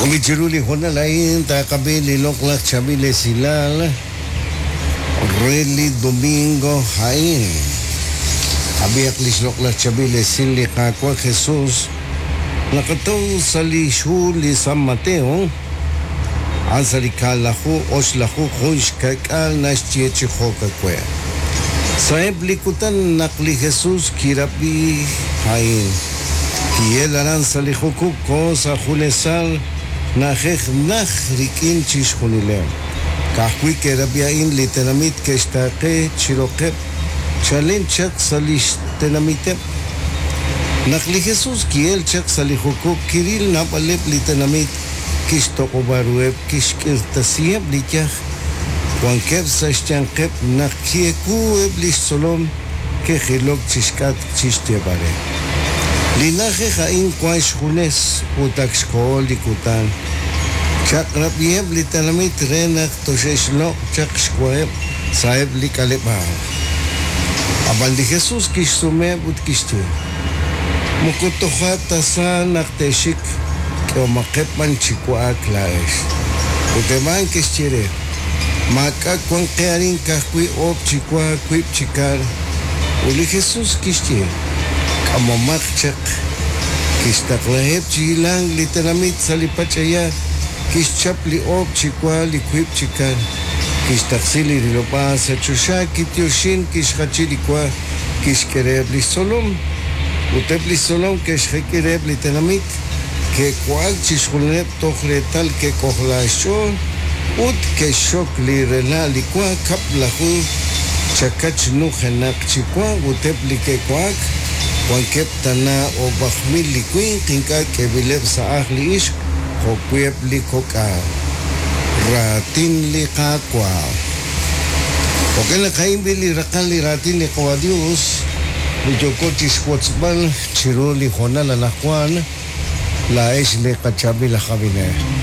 Jo'kan chiru li hoonal a'in taqab'i li loq'laj chaab'il esilal re li domingo a'in. Ab'ihaq lix loq'laj chaab'il esil li Qaawa' Jesus naqataw sa' lix hu li San Mateo, a'an sa' li kaalaju oxlaju jun xka'k'aal naxye chi jo'ka'we'. Sa'eb' li kutan naq li Jesus kirab'i a'in, Ki'el aran sa' li jukub' koho sa' junesal na'ajej najt rik'in chixjunileb'. Ka'ajwi' ke'rab'i a'in li tenamit ke'xtaaqe chi roqeb' chalen chaq sa' li xtenamiteb'. Naq li Jesus ki'el chaq sa' li jukub' kiril naab'aleb' li tenamit, kixtoq'ob'a ruheb', kixk'irtasiheb' li yaj wankeb' sa' xyanqeb' naq ki'ewu eb' li xtzolom ke'jilok chi xk'atq chi xyeeb'al re. Li na'ajej a'in wank xjunes ut ak xkoho li kutan. Chaq'rab'iheb' li tenamit re naq toxe'xloq' chaq xwaheb' sa'eb' li k'aleb'aal. Ab'an li Jesus kixsumeheb' ut kixye, Moko toja' ta sa naq te'xik, k'ehomaqeb' b'an chi wa'ak laa'ex. Ut eb' a'an ke'xye re, Maak'a' wank qe arin ka'ajwi' oob' chi wa, wiib' chi kar. Ut li Jesus kixye, K'amomaq chaq. Kixtaqlaheb' chi hilank li tenamit sa' li pach'aya, kixchap li oob' chi wa, li wiib' chi kar, kixtaqsi li rilob'aal sa' choxa, kityoxin, kixjachi li wa, kixk'e reheb' li xtzolom. Ut eb' li xtzolom ke'xjek'i reheb' li tenamit. Ke'wa'ak chixjunileb' toj reetal ke'k'ojla xch'ool ut ke'xxok li rela' li wa kab'laju chakach nujenaq chi wa ut eb' li ke'wa'ak wankeb' tana o'b'aj mil li winq ink'a' k'eeb'ileb' sa' ajl li ixq jo'wi' eb' li kok'al. Raatin li Qaawa'. Jo'kan naq a'in b'i' li raqal li raatin li Qawa' Dios li yooko chixwotzb'al. Chiru li hoonal anaqwan, laa'ex li qachaab'il aj ab'inel.